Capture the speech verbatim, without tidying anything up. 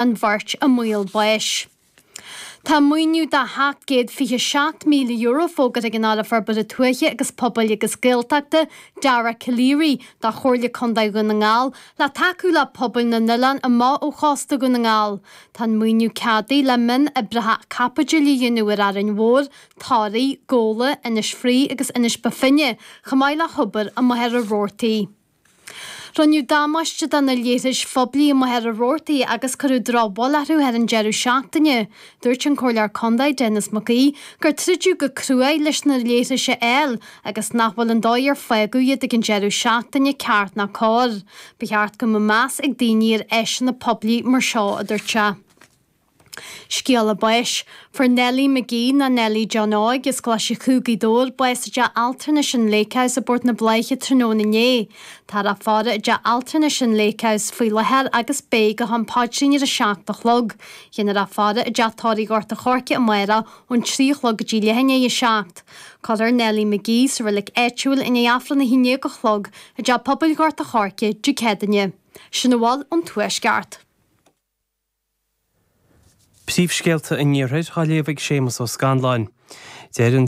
an bheirt i mbaol báis. Tá maoiniú de sheacht gcéad fiche seacht míle euro fógartha ag an Aire Forbartha Tuaithe agus Pobail agus Gaeltachta, Dara Calleary, do Chomhairle Contae Dhún na nGall le tacú le pobail na n-oileán amach ó chósta Dhún na nGall. Tá an maoiniú ceadaithe le mionoibreacha caipitil a dhéanamh ar Árainn Mhór, Toraigh, Gabhla, Inis Fraoigh agus Inis Bó Finne, chomh maith le hobair i Machaire Rabhartaigh. Rinneadh damáiste do na leithris phoiblí i Machaire Rabhartaigh agus cuireadh drochbhail orthu thar an deireadh seachtaine. Dúirt an Comhairleoir Contae Denis Mac Aoidh gur troideadh go cruaidh leis na leithris a fháil agus nach bhfuil an dóigh ar fágadh iad ag an deireadh seachtaine ceart ná cóir. Ba cheart go mbeadh meas ag daoine ar áiseanna poiblí mar seo, a dúirt sé. Scéala báis. Fuair Nellie McGee nó Nellie John Óig as Coláiste Chú Gaoth Dobhair bás i dteach altranais an Lake House i bPort na Bláiche tráthnóna inné. Táthar á faire i dteach altranais an Lake House faoi láthair agus beidh go ham paidrín ar a seacht a chlog. Déanfar a faire i dteach tórraimh Ghort a' Choirce amárach ón trí a chlog go dtí leath i ndiaidh a seacht. Cuirfear Nellie McGee sa reilig áitiúil i ndiaidh Aifreann a haon déag a chlog i dteach pobail Ghort a' Choirce Dé Céadaoine. Sin a bhfuil ón Tuaisceart. Príomhscéalta an Iarthair á léamh ag Séamus Ó Scanláin. Deir an